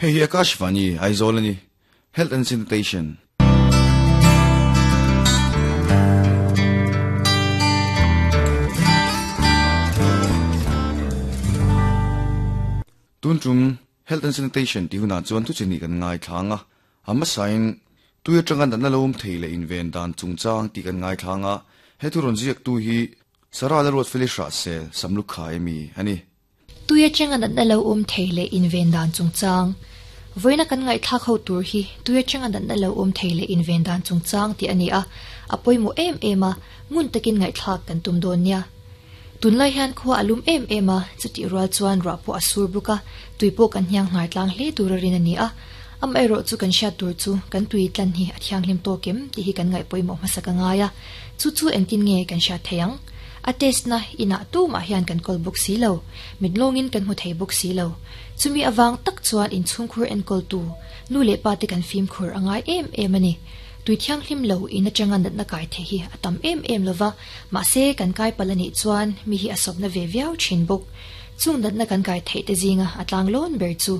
Hei hi Akashvani, Aizawl a ni. Health and Sanitation. Tun tum Health and Sanitation tih hunah chuan thu chi hnih kan ngaithlang a, a hmasain tui atanga natna lo awm thei leh inven dan chungchang tih kan ngaithlang a, he thu rawn ziaktu hi Sarah Lalruatfeli Hrahsel Samlukhai ami a ni. Tui atanga natna lo awm thei leh inven dan chungchang. Vawiina kan ngaihthlak ho tur hi tui atanga natna lo awm thei leh inven dan chungchang tih a ni a, a pawimawh em em a, ngun takin ngaihthlak kan tum dawn nia. Tunlai hian khua a lum em em a, chutih rual chuan ruah pawh a sur bawk a, tui pawh kan hniang hnar tlang hle tur a rin a ni a. Amaherawh chu kan hriat tur chu kan tui tlan hi a thianghlim tawk em tih hi kan ngaih pawimawh hmasa ka ngai a, chu chu engtin nge kan hriat thei ang? A test na inah tumah hian kan kawl bawk si lo, mit lawngin kan hmu thei bawk si lo. Chumi avang tak chuan inchhungkhur enkawltu nu leh pa te kan fimkhur a ngai em em a ni. Tui thianghlim lo in atanga natna kai thei hi a tam em em lova, mahse kan kai palh a nih chuan mi hi a sawpna ve viau thin bawk. Chung natna kan kai theih te zinga a tlang lawn ber chu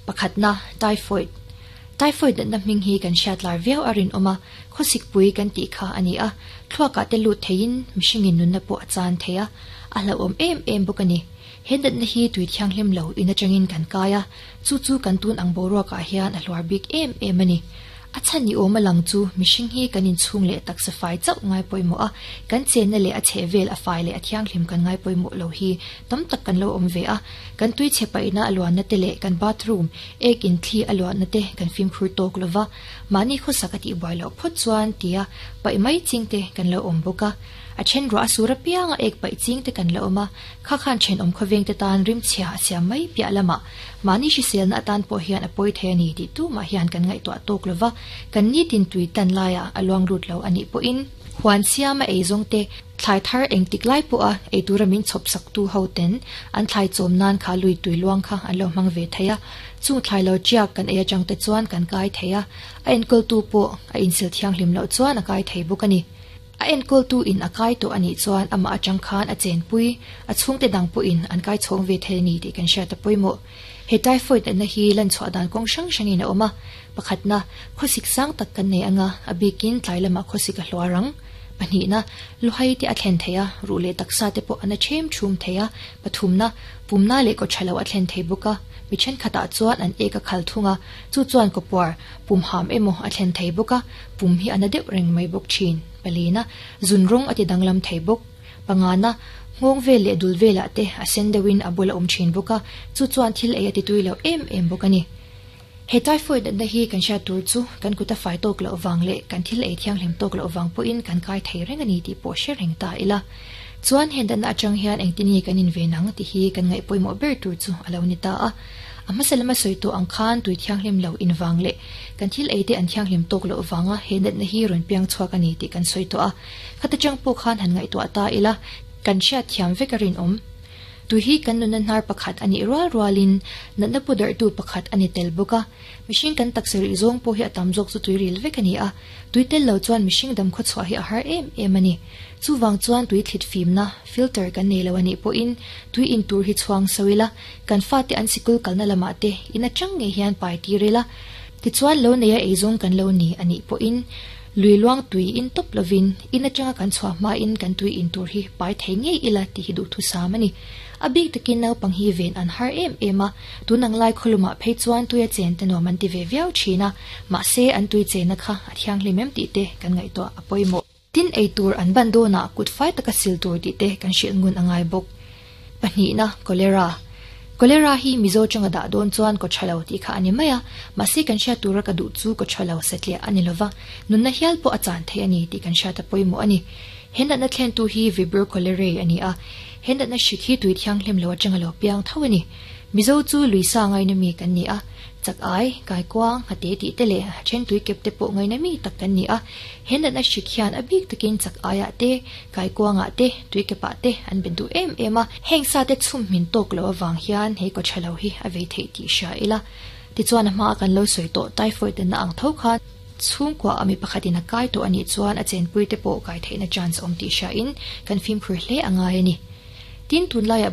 pakhatna, typhoid. Typhoid natna hming hi kan hriat lar viau a rinawm a, Khawsikpui kan tih kha a ni a, thluakah te lut theiin mihringin nunna pawh a chan thei a, a hlauhawm em em bawk a ni. He natna hi tui thianghlim lo in atangin kan kai a, chu chu kan tun ang boruakah hian a hluar bik em em a ni. A chhan ni awm a lang chu mihring hi kan inchhung leh taksa fai chauh ngai pawimawh a, kan chenna leh a chheh vel a fai leh a thianghlim kan ngai pawimawh lo hi tam tak kan lo awm ve a, kan tui chhe paihna a luanna te leh kan bathroom, ek in thli a luanna te kan fimkhur tawk lova. Mahni khawsak a tihbuai loh phawt chuan tia paih mai ching te kan lo awm bawk a. A then ruah a sur apiang a ek paih ching te kan la awm a, kha khan thenawm khawveng te tan rimchhia a siam mai piah lamah mahni hriselna atan pawh hian a pawi thei a ni tih tumah hian kan ngaihtuah tawk lova, kan nitin tui tan laiah a luang lut lo a nih pawhin huan siama eizawng te Thlai thar engtik lai pawha ei tura min chhawp sak tu ho ten an thlai chawm nan kha lui tui luang kha an lo hmang ve thei a, chung thlai lo tiak kan ei atang te chuan kan kai thei a, a enkawl tu pawh a insil thianghlim loh chuan a kai thei bawk a ni. A enkawl tu in a kai tawh a nih chuan amah atang khan a chenpui, a chhungte dang pawhin an kai chhawng ve thei a ni tih kan hriat a pawimawh. He typhoid natna hi lan chhuah dan kawng hrang hrangin a awm a, pakhatna, khawsik sang tak kan nei anga, a bikin tlai lamah khawsik a hluar ang. Pahnihna, luhai te a thlen thei a, ruh leh taksa te pawh a na ṭhem ṭhum thei a. Pathumna, pumna leh kaw ṭha lo a thlen thei bawk a, mi ṭhenkhatah chuan an ek a khal thung a, chu chuan kawpuar, pum ham emaw a thlen thei bawk a, pum hi a na deuh reng mai bawk ṭhin. Palina, zun rawng a ti danglam thei bawk. Pangana, nghawng vel leh dul velah te a sen deuhin a bul a awm thin bawk a, chu chuan thil ei a ti tui lo em em bawk a ni. He typhoid natna hi kan hriat tur chu kan kut a fai tawk loh vang leh kan thil ei thianghlim tawk loh vang pawhin kan kai thei reng a ni tih pawh hre reng ta ila. Chuan he natna atang hian engtin nge kan inven ang tih hi kan ngaih pawimawh ber tur chu a lo ni ta a. A hmasa lama sawi tawh ang khan tui thianghlim lo invang leh kan thil ei te an thianghlim tawk loh vanga he natna hi rawn piang chhuak a ni tih kan sawi tawh a. Khata chang pawh khan han ngaihtuah ta ila, kan hriat thiam vek a rinawm. Tui hi kan nunna hnar pakhat a nih rual rualin natna pu darhtu pakhat a ni tel bawk a. Mihring kan taksa rih zawng pawh hi a tam zawk chu tui ril vek a ni a, tui tel lo chuan mihring dam khawchhuah hi a har em em a ni. Chuvang chuan tui thlit fimna, filter, kan nei lo a nih pawhin tui in tur hi chhuang so ila, kan fate an sikul kalna lamah te in atang ngei hian pai tir ila, tichuan lo neia eizawng kan lo ni a nih pawhin Lui luang tui in tawp lovin in atanga kan chhuah hmain kan tui in tur hi pai thei ngei ila tih hi duhthusam a ni. A bik takin naupang hi ven an har em em a, tun ang lai khawlumah phei chuan tuia chen te nuam an ti ve viau thin a, mahse an tui chenna kha a thianghlim em tih te kan ngaihtuah a pawimawh. Tin ei tur an ban dawnah kut fai taka sil tur tih te kan hrilh ngun a ngai bawk. Pahnihna, Cholera. Cholera hi Mizo tanga dah dawn chuan kaw tha lo tih kha a ni mai a, mahse kan hriat tura ka duh chu kaw tha lo satliah a ni lova, nunna hial pawh a chan thei a ni tih kan hriat a pawimawh a ni. He natna thlentu hi Vibrio cholerae a ni a, he natna hrik hi tui thianghlim lo atanga lo piang tho a ni. Mizo chu Luisa ngaina mi kan ni a, chak ai, kaikuang, hate tih te leh then tui kep te pawh ngaina mi tak kan ni a, He natna hrik hian a bik takin chak aiah te, kaikuangah te, tuikepah te an bet duh em em a. Heng sa te chhum hmin tawk loh avang hian he kaw tha lo hi a vei theih tih hria ila. Tichuan a hmaa kan lo sawi tawh typhoid natna ang tho khan chhungkua a mi pakhatin a kai tawh a nih chuan a chenpui te pawh kai theihna chance awm tih hria in kan fimkhur hle a ngai a ni. Tin, tunlaiah.